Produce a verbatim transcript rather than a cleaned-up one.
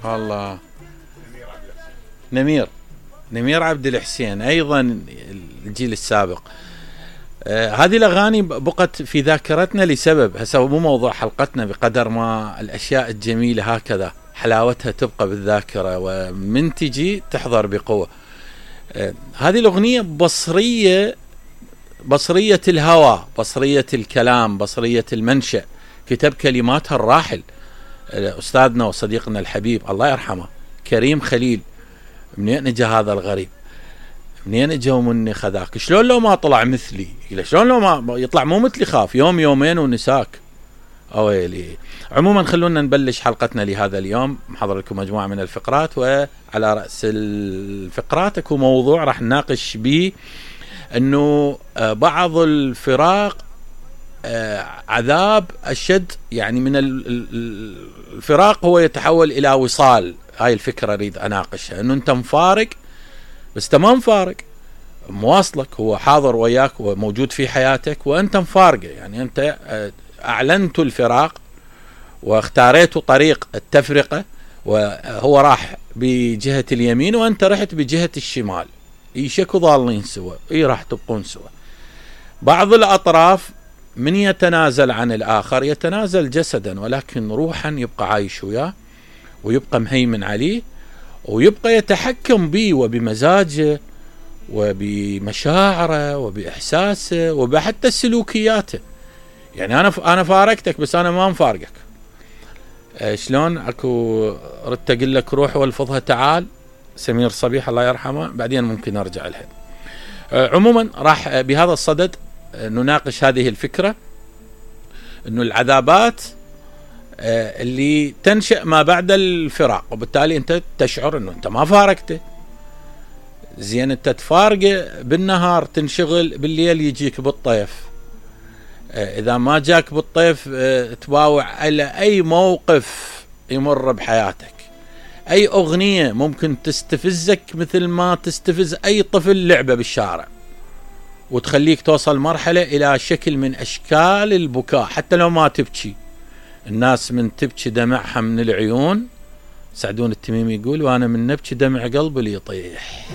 الله. نمير نمير عبد الحسين ايضا الجيل السابق. آه هذه الاغاني بقت في ذاكرتنا لسبب، هسه مو موضوع حلقتنا بقدر ما الاشياء الجميله هكذا حلاوتها تبقى بالذاكره ومن تجي تحضر بقوه. آه هذه الاغنيه بصريه، بصريه الهوى، بصريه الكلام، بصريه المنشأ، كتب كلماتها الراحل استاذنا وصديقنا الحبيب الله يرحمه كريم خليل. منين اجى هذا الغريب؟ منين اجى ومني خذاك؟ شلون لو ما طلع مثلي؟ شلون لو ما يطلع مو مثلي خاف يوم يومين ونساك. اويلي. عموما خلونا نبلش حلقتنا لهذا اليوم، محضر لكم مجموعه من الفقرات، وعلى راس الفقرات اكو موضوع راح نناقش به انه بعض الفراق عذاب اشد، يعني من الفراق هو يتحول الى وصال. هاي الفكره اريد اناقشها، انه انت مفارق بس انت ما مفارق، مواصلك، هو حاضر وياك وموجود في حياتك وانت مفارقه، يعني انت اعلنت الفراق واختاريتوا طريق التفرقه وهو راح بجهه اليمين وانت رحت بجهه الشمال، يشكوا ضالين سوا، اي راح تبقون سوا. بعض الاطراف من يتنازل عن الآخر يتنازل جسدا، ولكن روحا يبقى عايش وياه ويبقى مهيمن عليه ويبقى يتحكم به وبمزاجه وبمشاعره وبإحساسه وبحتى سلوكياته. يعني أنا أنا فارقتك بس أنا ما مفارقك. شلون أكو ردت أقول لك روح والفظها تعال، سمير صبيح الله يرحمه، بعدين ممكن أرجع لها. عموما راح بهذا الصدد نناقش هذه الفكرة، انه العذابات اللي تنشأ ما بعد الفراق، وبالتالي انت تشعر انه انت ما فارقته. زين انت تفارقه بالنهار تنشغل، بالليل يجيك بالطيف، اذا ما جاك بالطيف تباوع على اي موقف يمر بحياتك، اي اغنية ممكن تستفزك مثل ما تستفز اي طفل لعبة بالشارع، وتخليك توصل مرحلة إلى شكل من أشكال البكاء حتى لو ما تبكي. الناس من تبكي دمعها من العيون، سعدون التميمي يقول وأنا من نبكي دمع قلبي اللي يطيح.